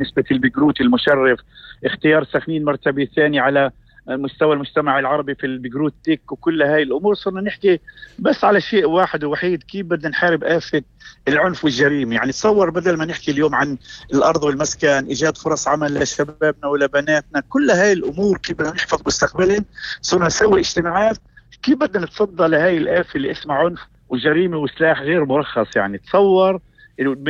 نسبة البقروت المشرف، اختيار سخنين مرتبة ثانية على مستوى المجتمع العربي في البقروت تك، وكل هاي الأمور صرنا نحكي بس على شيء واحد ووحيد: كيف بدنا نحارب آفة العنف والجريمة. يعني تصور بدل ما نحكي اليوم عن الأرض والمسكن، إيجاد فرص عمل لشبابنا ولبناتنا، كل هاي الأمور كيف بدنا نحفظ مستقبلهم، صرنا نسوي اجتماعات كيف بدنا نتصدى لهاي الآفة اللي اسمها عنف وجريمة وسلاح غير مرخص. يعني تصور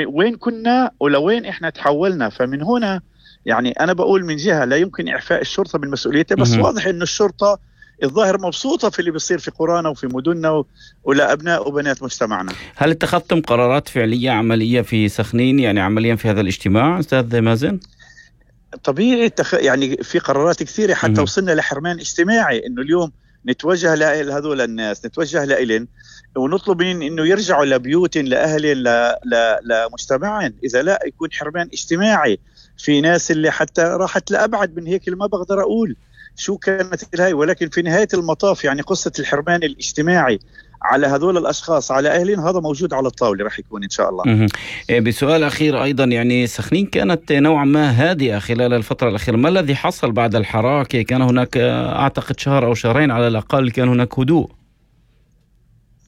وين كنا ولوين احنا تحولنا. فمن هنا يعني أنا بقول من جهة لا يمكن إعفاء الشرطة من مسؤوليتها، بس واضح إنه الشرطة الظاهر مبسوطة في اللي بيصير في قرانا وفي مدننا ولأبناء وبنات مجتمعنا. هل اتخذتم قرارات فعلية عملية في سخنين، يعني عمليا في هذا الاجتماع أستاذ مازن؟ طبيعي يعني في قرارات كثيرة، حتى وصلنا لحرمان اجتماعي، إنه اليوم نتوجه لهذول الناس، نتوجه لإلن ونطلب من إنه يرجعوا لبيوتهم لأهلهم لمجتمعهم. إذا لا يكون حرمان اجتماعي. في ناس اللي حتى راحت لأبعد من هيك، اللي ما بقدر أقول شو كانت الهاي، ولكن في نهاية المطاف يعني قصة الحرمان الاجتماعي على هذول الأشخاص على أهلين هذا موجود على الطاولة رح يكون إن شاء الله. بسؤال أخير أيضا، يعني سخنين كانت نوعا ما هادئة خلال الفترة الأخيرة، ما الذي حصل بعد الحراك؟ كان هناك أعتقد شهر أو شهرين على الأقل كان هناك هدوء.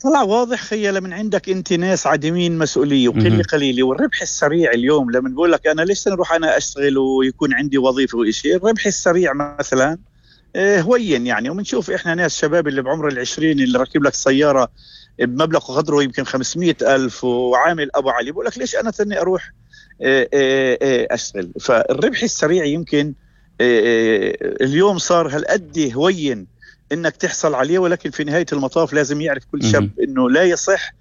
طلع واضح خيال من عندك انت ناس عديمين مسؤولية وقلة قليلة، والربح السريع اليوم لما نقول لك أنا ليش نروح أنا أشتغل ويكون عندي وظيفة وإشي، الربح السريع مثلا هوين يعني. ومنشوف إحنا ناس شباب اللي بعمر 20 اللي ركب لك سيارة بمبلغ قدره يمكن 500,000 وعامل أبو علي، بقول لك ليش أنا تاني أروح أشتغل. فالربح السريع يمكن اليوم صار هالقد هوين إنك تحصل عليه، ولكن في نهاية المطاف لازم يعرف كل شاب إنه لا يصح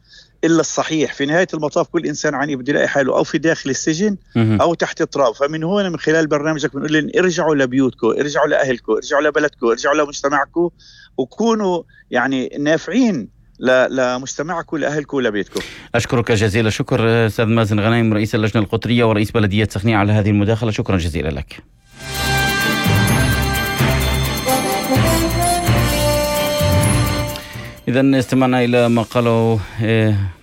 إلا الصحيح. في نهاية المطاف كل إنسان عني بده يلاقي حاله أو في داخل السجن أو تحت التراب. فمن هنا من خلال برنامجك بنقول لهم ارجعوا لبيوتكم، ارجعوا لأهلكم، ارجعوا لبلدكم، ارجعوا لمجتمعكم، وكونوا يعني نافعين لمجتمعكم لأهلكم ولبيتكم. أشكرك جزيل الشكر أستاذ مازن غنايم، رئيس اللجنة القطرية ورئيس بلدية سخنين، على هذه المداخلة. شكرا جزيلا لك. إذن استمعنا إلى ما قاله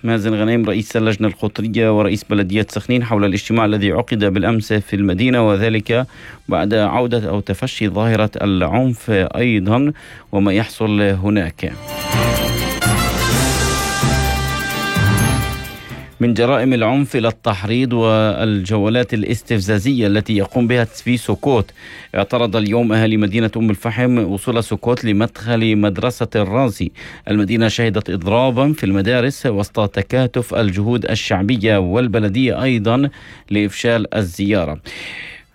مازن غنايم رئيس اللجنة القطرية ورئيس بلدية سخنين حول الاجتماع الذي عقد بالأمس في المدينة، وذلك بعد عودة أو تفشي ظاهرة العنف أيضا وما يحصل هناك من جرائم العنف إلى التحريض والجولات الاستفزازية التي يقوم بها في سوكوت. اعترض اليوم أهالي مدينة أم الفحم وصول سوكوت لمدخل مدرسة الرازي. المدينة شهدت إضرابا في المدارس وسط تكاتف الجهود الشعبية والبلدية أيضا لإفشال الزيارة.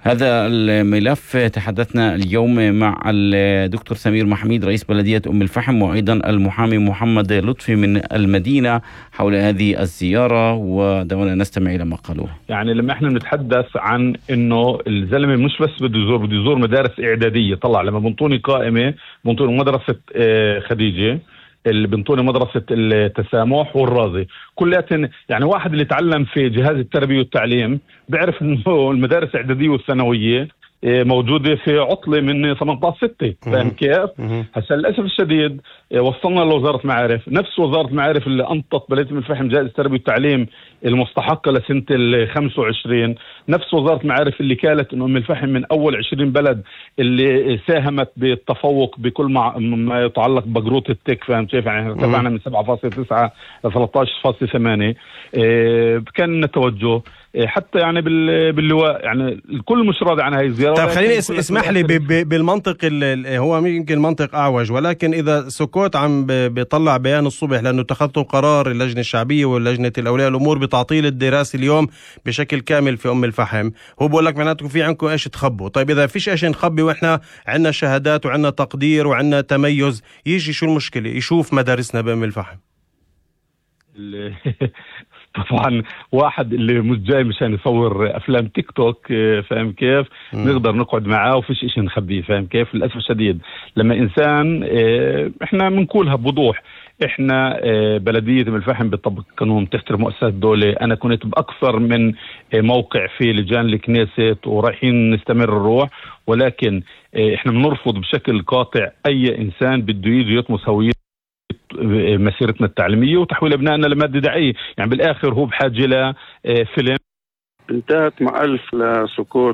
هذا الملف تحدثنا اليوم مع الدكتور سمير محميد رئيس بلدية أم الفحم، وأيضا المحامي محمد لطفي من المدينة حول هذه الزيارة، ودعونا نستمع إلى ما قالوه. يعني لما احنا نتحدث عن انه الزلمة مش بس بده يزور مدارس إعدادية، طلع لما بنطوني قائمة بنطوني مدرسة خديجة، اللي بنطوني مدرسة التسامح والرازي، كلها يعني واحد اللي تعلم في جهاز التربية والتعليم بيعرف انه المدارس الإعدادية والثانوية موجودة في عطلة من 18/6. فاهم كيف؟ هسا للأسف الشديد وصلنا لوزارة معارف، نفس وزارة معارف اللي أنطت بلدية أم الفحم جائزة التربية والتعليم المستحقة لسنة 25، نفس وزارة معارف اللي قالت إنه أم الفحم من أول 20 بلد اللي ساهمت بالتفوق بكل ما يتعلق بقروط التك. فاهم كيف؟ يعني ارتفعنا من 7.9 ل 13.8. كان التوجه حتى يعني باللواء، يعني الكل مش راضي عن هاي الزيارة. طيب خليني اسمح لي بالمنطق هو يمكن منطق أعوج، ولكن إذا سكوت عم بيطلع بيان الصبح لأنه اتخذتوا قرار اللجنة الشعبية واللجنة الأولياء الأمور بتعطيل الدراسة اليوم بشكل كامل في أم الفحم، هو بقول لك معناته في عندكم إيش تخبوا. طيب إذا فيش إيش نخبي وإحنا عندنا شهادات وعندنا تقدير وعندنا تميز، يجي شو المشكلة يشوف مدارسنا بأم الفحم؟ طبعا واحد اللي مش جاي مشان يصور افلام تيك توك، فاهم كيف؟ نقدر نقعد معاه وفيش اشي نخبيه. فاهم كيف؟ للاسف الشديد لما انسان احنا بنقولها بوضوح، احنا بلدية أم الفحم بتطبق قانون، تحترم مؤسسات الدولة. انا كنت باكثر من موقع في لجان الكنيسة ورايحين نستمر الروح، ولكن احنا بنرفض بشكل قاطع اي انسان بده يجي يطمس هويته مسيرتنا التعليمية وتحويل أبنائنا لمادة دعائية. يعني بالآخر هو بحاجة لفيلم انتهت مع 1000 لسكوت